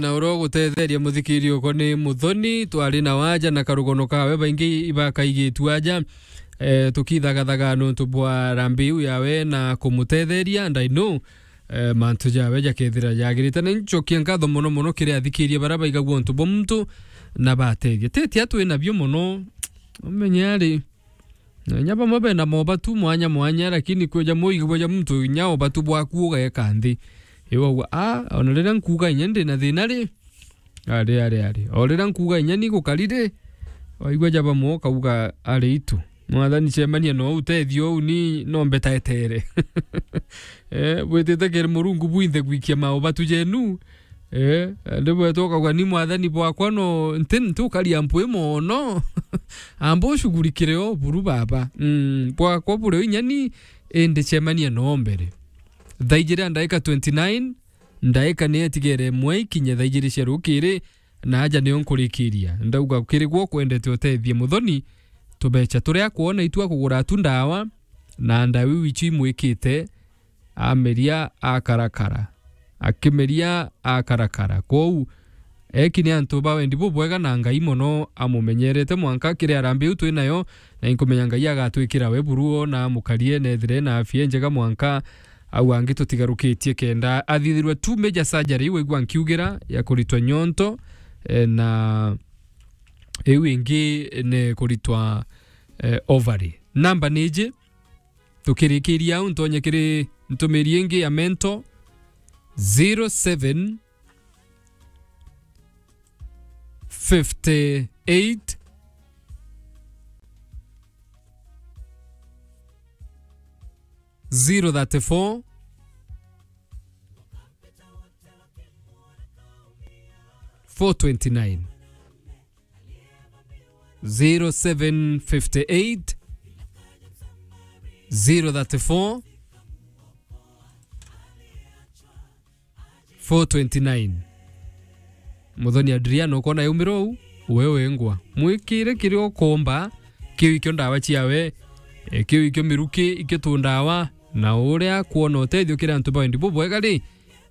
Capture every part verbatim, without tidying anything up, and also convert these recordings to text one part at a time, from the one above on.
na uria ugutetheria muthikiri uko ni Muthoni, twari na waja na karugono kawe, baingi ibakaigitu aja, eh, tukithagathaga nuntu bwa rambi iu yawe na kumutetheria, and I know, eh, mantu jawe jakethira jagirite. Na ncokia nkatho mono mono kiri athikiria baria baigagua untu bwa muntu na batethia. Teti atwi nabio mono, umenye ari, na inya bamwe bena mobatu mwanya mwanya, lakini kwija muigua ja muntu inya obatu bwaku ugeka nthi. Iwagua, ah, ona riria nkuuga inya ndina thina ri, ari, ari, ari. O riria nkuuga inya ni gukari ri, waigua ja bamwe ukauga, ari itu. Mwathani, cemania no utethio uu, ni no mbetaetere. Eh, bwitite kiri Murungu bwinthe gwikia maubatu jenu. Eh, ndi bwetwa ukauga, ni Mwathani bwakwa no, nti, nti ukaria mpwi mono. Amba ushughulikire o buru baba. Mm, bwakwa buri o inya ni, indi cemania no mbere. Thaa ijiri na ndaika twenty-nine, ndaika ni etigere imwe ikinye thaa ijiri cia rukiri, na aja nio nkurikiria. Ndauga kiri gwo kwendete utethie Muthoni, tubecha turia akwona itu akugura tu ndawa, na ndawa iu icio imwikite, ameria akarakara. Akimeria akarakara. Kwou, eki ni antu ba wendi bubwega na Ngai mono amumenyerete mwanka kiri arambi iu twi nayo, na inkumenya Ngai agatwikira we buru o na amukarie na ethire na afia injega mwanka au angi tutigarukitie kenda athithirwe tu major surgery, waigua nkiugira, ya kuritwa nyonto, eh, na iu ingi ni kuritwa, eh, ovary. Namba ni iji, tukirikiria au ntonye kiri ntumiri ingi ya mento, zero seven fifty eight, zero thirty four, four twenty nine. Zero seven fifty eight, zero thirty four, four twenty nine. Muthoni Adriano, ukona yaumira uu, we wengwa. Mwikire kiria ukomba, kiu ikio ndawa ciawe, eh, kiu ikio miruki, ikio tundawa, na uria kwona utethio kiri antu ba wendi bubwega ri,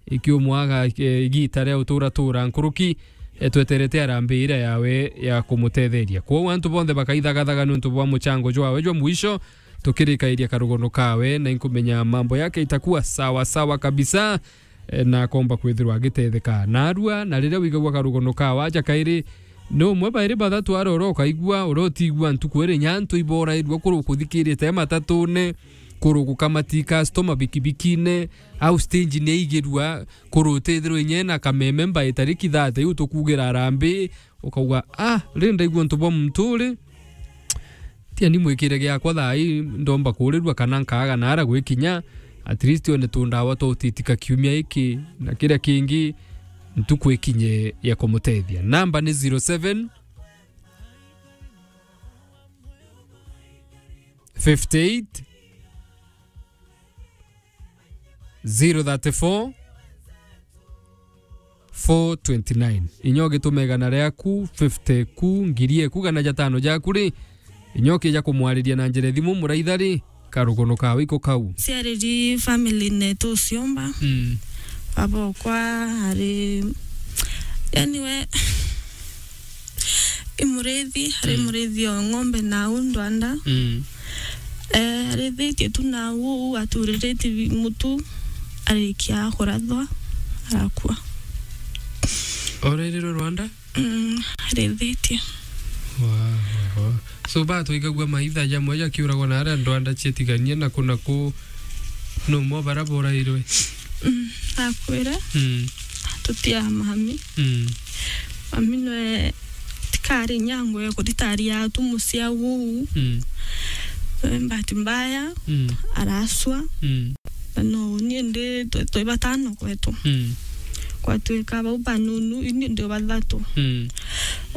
ikiumwaga, eh, igita ria utura tura nkuruki, eh, tweterete arambi iria yawe ya kumutetheria. Kwou antu bonthe bakaithagathaga niuntu bwa muchango jwawe jwa mwisho, tukirikairia karugono kawe, na inkumenya mambo yake itakuwa sawa sawa kabisa, eh, na akomba kwithirwa agitetheka. Narua, na riria wigagua karugono kawe aja kairi, ni umwe bairi bathatu aroro ukaigua, uria utiigua ntuku iri nyantu iborairua kuru kuthikirite matatune, kuru gukamati customer bikibikine, au stage ni aigirua, kuru utithirwa inye na kameme mbae tariki thate iu tukugira arambi, ukauga, "Ah, ri ndaigua untu bwa muntu uri, tiani mwikire giakwa thaa ii, ndomba kuurirua kana nkaaga naara gwikinya, at least one tundawa twa utitika kiumia iki, na kiria kingi, ntuku ikinye ya kumutethia." Namba ni zero seven fifty eight, zero thirty four, four twenty nine. Inya ugitume igana riaku, fifty ku, ngiri eku, gana jatano jaku ri, inya ukija kumwariria na njira thimu muraitha ri, karugono kawe iko kau. Ciariri family netu uciomba. Mm. Baba okwa ari, yani we, i murithi, ari, mm, murithi o ng'ombe na au ndwanda. Mm. Eh, arithitie tu na au, uu aturiritie bi-, mutu, arikia kurathwa, arakua. Orairirwe Rwanda? Mm, arithitie. Wa, wa, wa. So, batwaigagua maitha jamwe jakiuragwa na aria ndwanda cietiganie na ku na ku, no mo bara borairwe? Mm, akwire. Mm. Tutia mami. Mm. Mami nwe tikari nyango ya kuthitaria tu mucia uu. Mm. Eh, bahati mbaya, mm, araswa. Mm. Na no ni ndi twe, twe batano kwetu. Mm. Kwatwika bau banunu, ini ndi bathatu. Mm.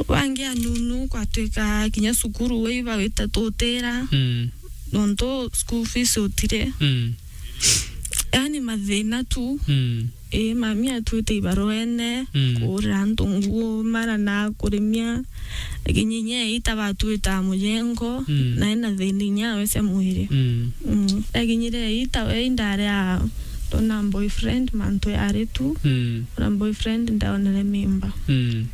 Bangi anunu kwatwika kinya cukuru we iba wita tutira. Mm. Nontu school fees utire. Mm. Yani mathina tu. Mm. Ii, mami atwite ibaruene, mm, kuurira antu nguo, mara na kurimia. Lakini inya ita batwita mujengo, mm, na ena thina inya we cia mwiri. Mm. Mm. Lakini ita we indari a Ndona boyfriend, mantu yari tu. Mm. Ona boyfriend, ndaonere mimba. Mm.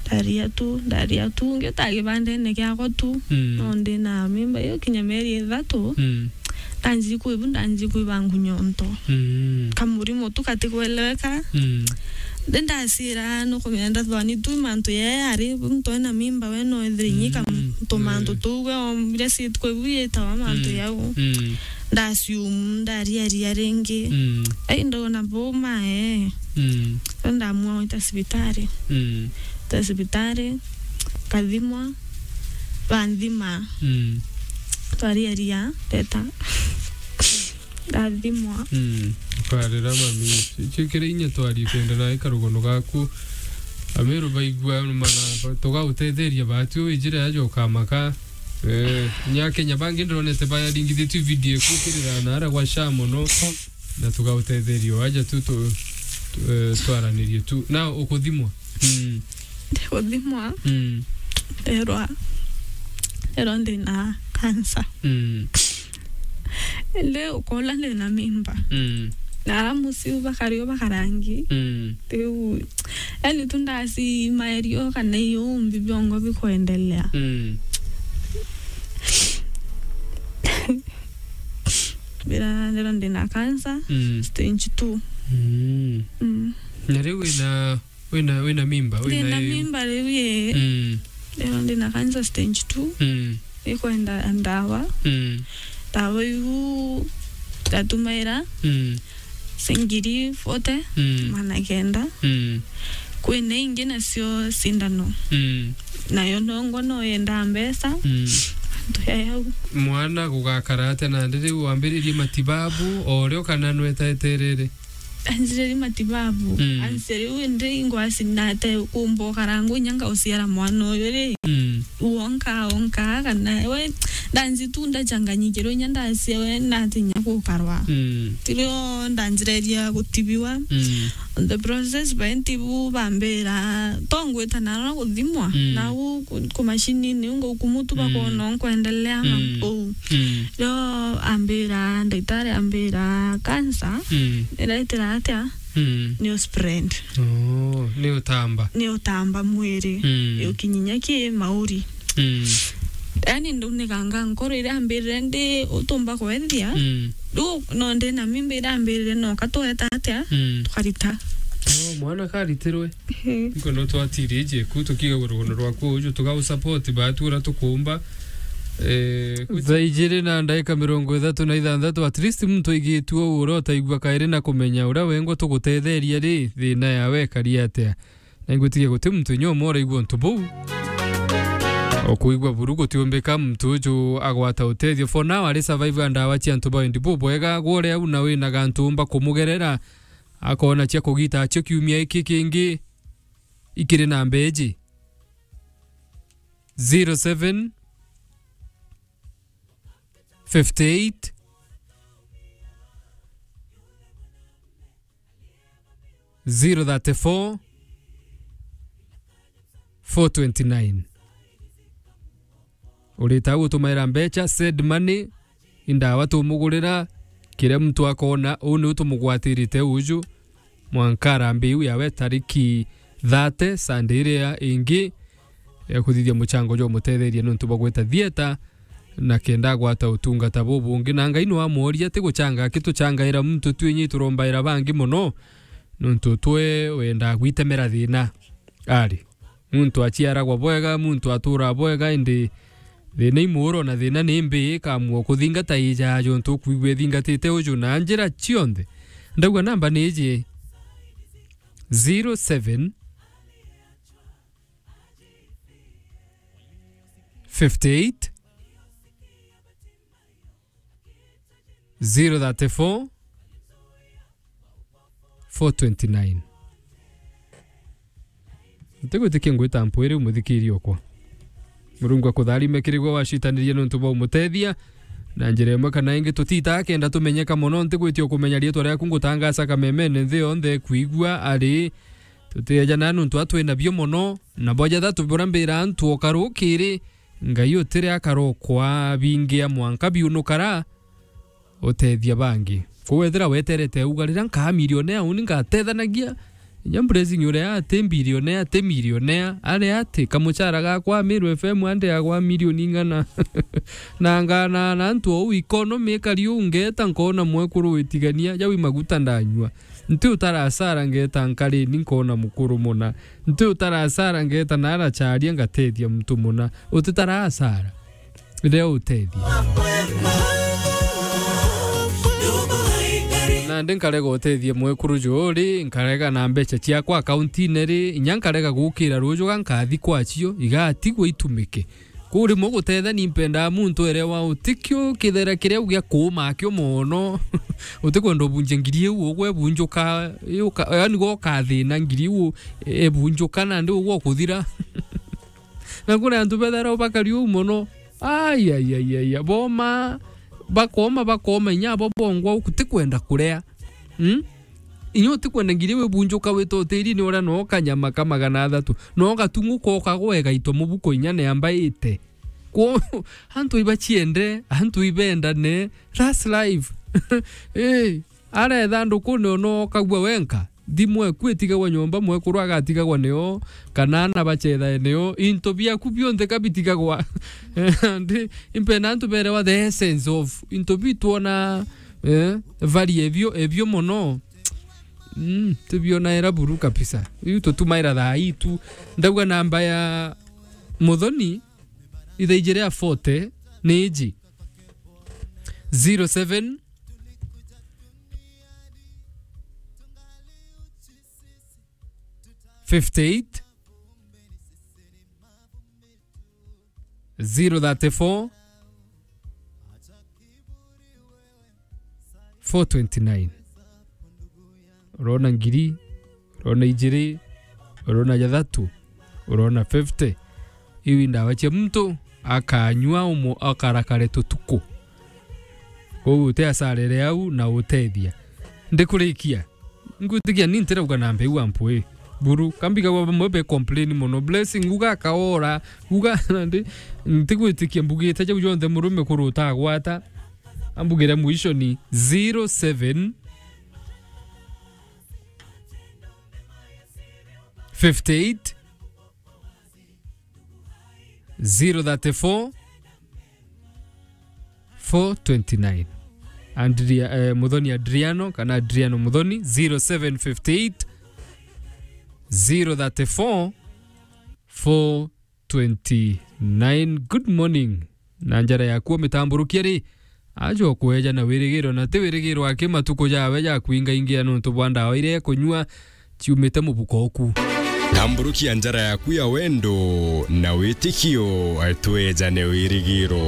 Ndaria tu, ndaria tu, ngiuta kibandene kiakwa tu. Mm. No ndi na mimba, iyo kinya mieri ithatu. Mm. Ndanji kwibu, ndanji kwiba ngunyo nto. Mm. Kamurimo tu katikweleweka. Mm. Ndi ndacira, nukumenya ndathwani tu mantu yee ari, muntu ena mimba we no ethire inyika. Mm. Tumantu, mm, tuu we ombire sit kwibu yitawa mantu, mm, yau. Mm. Ndasiumu, ndariaria ringi. Mm. Ai, ndona buma, ee. Mm. Ndo ndamua gwita cibitari. Mm. Gwita cibitari, nkathimwa, banthima. Mm. Twariaria, ndeta. Ndathimwa. Mm. Ukarira mami. Icio kiri inya twari kwenda na ikarugono gaku. Amiru baigua mana, tugautetheria batu wijire aja ukamaka. Eh, nya Kenya bangi ndironete bayaringithitue video ikukirira na ara gwa sha mono, na tugautetherio aja tu, tu, tu, eh, twaranirie tu. Na ukuthimwa? Mm. Ndiguthimwa. Mm. Nderwa, nderwa ndina cancer. Mm. Indi ukola ndina mimba. Mm. Na ara muciu bakario bakarangi. Mm. Riu, yani tu ndasi maerio kana iumbi biongo bikwendelea. Mm. Bira ndero ndina cancer, mm, stage two. Mm. Mm. Na riu wina, wina, wina mimba, wina. Ndina mimba riu ye. Mm. Ndero ndina cancer stage two. Mm. Ikwenda ndawa. Mm. Ndawa iu ndatumaira, mm, ciringi forty, mm, magana kenda. Mm. Kwina ingi nacio cindano. Mm. Nayo nongo no yendaa mbeca. Mm. Antu ya yau. Mwana gugakara atia nandi riu wambiririe matibabu o rio kana nwetaeterere? Anjiriri matibabu. Mm. Anjiriri indi ingwasi nate kumba ukarangwa inya ngauciara mwana uyu ri. Mm. Wonka, wonka, kana we, ndanji tu ndachanganyikirwe inya ndacia we natinya gukarwa. Mm. Tirio ndanjireria gutibiwa. Mm. On the process, baintibu bambira, to ngwita naro guthimwa. Mm. Nau ku, ku mashinini, unga ukumutu, mm, bakona nkwendelea na, mm, uu. Mm. Rio ambira, ndagitari ambira, cancer, mm, iretera atia? Mm. Ni uspread. Oh, ni utamba. Ni utamba mwiri. Mm. Ukinyinya ki mauri. Mm. Yani, nduniganga nkoro iria ambirire ndi utumba kwethia. Mm. Riu no ndi na mimba iria ambirire no katweta atia? Mm. Tukarita. Oh, mwana karitirwe. Ehe. Niko no twatiri ije ku tukiga rugono rwaku uju tuga u support batu ura tukumba. Eh, thaa ijiri na ndaika mirongo ithatu na ithanthatu, at least muntu aigitue uu uria utaigua kairi na kumenya uria wengwa tugutetheria ri, thina yawe ikari atia. Na ingwitikia guti muntu inya umwe uraigua untu buu. Ukuigua buru gutiumbika muntu uju agwata utethio. For now, ari survivor ndawa cia antu ba wendi bubwega, gwa uria au na wina gantu umba kumugerera, akona cia kugita acio kiumia iki kingi ikiri namba iji. Zero seven, fifty eight, zero thirty four, four twenty nine. Urita gutumaira mbeca, send money, indawa tumugurira, kiria muntu akona, uu niu tumugwatirite uju. Mwanka arambe iu yawe tariki thirty, Sunday iria ingi, ya kuthithia muchango jwa umutetheria niuntu bwa gwita theatre, na kenda agwata utungata bubungi. Na Ngai no amworia, ti guchanga akituchangaira muntu, twi inyi turombaira bangi mono, niuntu twe wendaa gwitemera thina. Ari, muntu achiaragwa bwega, muntu aturaa bwega, indi thina i muuro na thina ni mbi ikamua kuthingata ijaa jontu ukwigua ithingatite uju na njira cionthe. Ndauga namba ni iji, zero seven, fifty eight, zero thirty four, four twenty nine. Ntigwitikia ngwita mpwiri umuthikiri okwa. Murungu akutharime kiri gwe wacitanirie niuntu bwa umutethia. Na njira imwe kana ingi, tutitaa kenda tumenyeka mono. Ntigwitia ukumenya riitwa riaku, ngutangaca kamemene nthi yonthe kwigua ari. Tutieja na niuntu atwi nabio mono, na bwa jathatu bura mbira antu o karukiri, Ngai utiri akarokwa bingia mwanka biunukara utethia bangi. Kwou wethira weterete uga, riria nkaa millionaire, uni ngatethanagia. Inya Blessing uria ati billionaire, ati millionaire, ari ati, kamuchara gakwa Meru F M ande agwa milioni ing'ana. Na ngana na antu ou economy ikari uu, ngeta nkona mwekuru witigania, jau i maguta ndanyua. Nti utara asara, ngeta nkarini nkona mukuru muna. Nti utara asara, ngeta naracharia ngatethia muntu muna. Utitara asara. Riria utethia. Nandi nkarega utethia mwekuru juu ri, nkarega na mbeca ciakwa akaunti-ine ri, inya nkarega gukira ruju ga nkathi kwacio, igatigwa itumike. Kuu rimwe gutethani mpendaa muntu erewa utikio kithera kiria gia kuuma akio mono. Utikwenda ubunjia ngiri iu, ugwe bunjuka, iu ka-, yaani gwe ukathina ngiri iu, e, ebunjuka nandi ugwe ukuthira. Na kuri antu bethairwa bakari uu mono. Ai, ai, ai, ai, ai. Boma, bakoma, bakoma, inya abo bongwa uku tikwenda kuria. Mm? Inya utikwenda ngiri wibunjuka wite utirini uria no kanyama ka magana athatu. No gatung'u koka gwega ito mubuko inya neamba ite. Kwo, antu ibachiende, antu ibendane, that's life. Eh, aretha ndukune ono okagua wenka. Thimu eku itigagwa nyomba, mwekuru agatigagwa nio, kana ana bachethae nio, into biaku bionthe ka bitigagwa. Ndi, impenda antu berewa the essence of into bi twona, eh, value ebio, ebio mono. Mm, tubiona era buru kabisa. Iu tutumaira thaa ii tu. Ndauga namba ya Muthoni, ithaijire ya forty, ni iji. Zero seven, fifty eight, zero thirty four, four twenty nine. Urona ngiri, urona ijiri, urona jathatu, urona fifty. Iu i ndawa cia muntu akanyua umo akarakare tutuku. Kwou uti asarere au na utethia. Ndikurikia. Ngwitikia ni ntirauga na mbeu wa mpwi. Buru, kambigagwa bamwe be complain mono. Blessing, uga akaora, uga nandi, ntigwitikia mbugite jau jonthe murume kuru utagwata. Ambugire mwisho ni zero seven, fifty eight, zero thirty four, four twenty nine. Andria-, eh, Muthoni Adriano, kana Adriano Muthoni, zero seven fifty eight, zero thirty four, four twenty nine. Good morning. Na njara yaku mitamburukia ri, ajo kweja na wirigiro, na ti wirigiro aki matuku jawe ja kwingaingia nontu bwa ndawa iria ekunyua ciumite mubuko oku. Tamburukia njara yaku ya wendo na witikio, twejane wirigiro.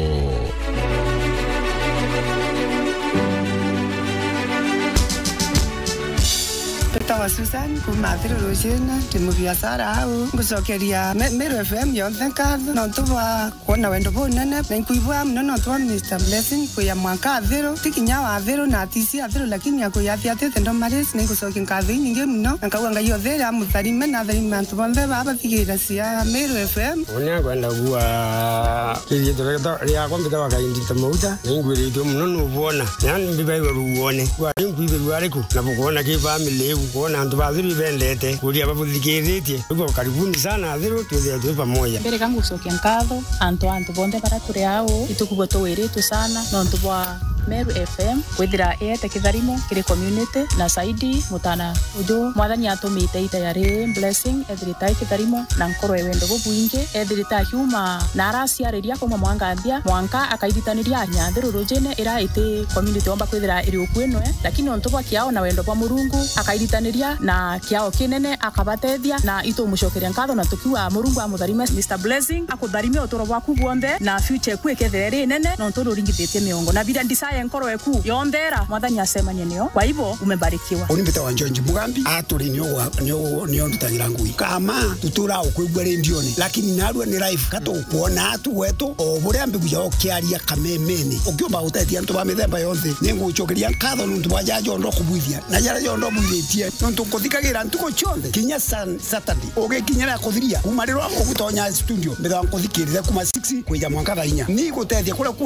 Mbitawa Susan, kuma Athiru Rujina, ndi mubiacara au. Ngucokeria Me-, Meru F M yonthe nkatho, nontu bwa kwona wendo bunene, na inkwibwa muno nontu bwa Mister Blessing kwia mwanka Athiru, ti kinya wa Athiru na atisi Athiru, lakini akwiya athiatite ndo Maris, na ingucokia nkatho inyingi muno, na nkauga Ngai othe amutharime, na atharime antu bonthe baa bathigira cia Meru F M. Uni akwenda kuwa kithieto riakwa mbitawa Kaindite Mauta, na ingwiritue muno nubwona, na mbibairwa ruone. Kwa inkwibirwa ariku, na bukwona ki family iu, kwona antu ba Athiru ibendete, kuria babuthikiritie. Kwa hivyo, karibuni sana Athiru, twithire twi pamoja. Mbere ka ngucokia nkatho antu, antu bonthe bara turi au, itukubwa tuwiritwe sana nontu bwa Meru F M kwithira iete kitharimo kiri community, na saidi mutana uju Mwathani atumite ita ya ri Blessing ethirite ai kitharimo na nkoro ya wendo bubwingi, ethirite akiuma na araciariria kuma mwanka nthia mwanka akairitaniria Nyathirurujine ira iti community omba kwithira iri ukui nwe, lakini nontu bwa kiao na wendo bwa Murungu akairitaniria na kiao kinene akabatethia, na itumucokeria nkatho na tukiuga Murungu amutharime. Mister Blessing akutharime uturo bwaku bwonthe, na future eku ikethire iri nene, nontu nuringithitie miongo. Na biria ndisaye nkoro eku yonthe ira Mwathani acemanie nio. Kwa hivyo, umebarikiwa. Uni mbitawa George Mugambi, aturi nio gwa-, nio, nio ndutagira ngui. Kama tutura ukwigua rendione, lakini narua ni live, ka tukwona atu gwetu, o buria mbiguja ukiaria kamemene. Ukiumba gutethia antu ba mithemba yonthe, ni ngucokeria nkatho nuntu bwa jaja jonthe ukubwithia, na jaria jonthe ubwithitie, nuntu nkuthikagira ntuku cionthe, kinya san-, Saturday. Ugikinyira kuthiria, kuma riria ugutonya studio, mbithawa nkuthikirire kuma six kwija mwanka thaa inya. Ni gutethia kuria ku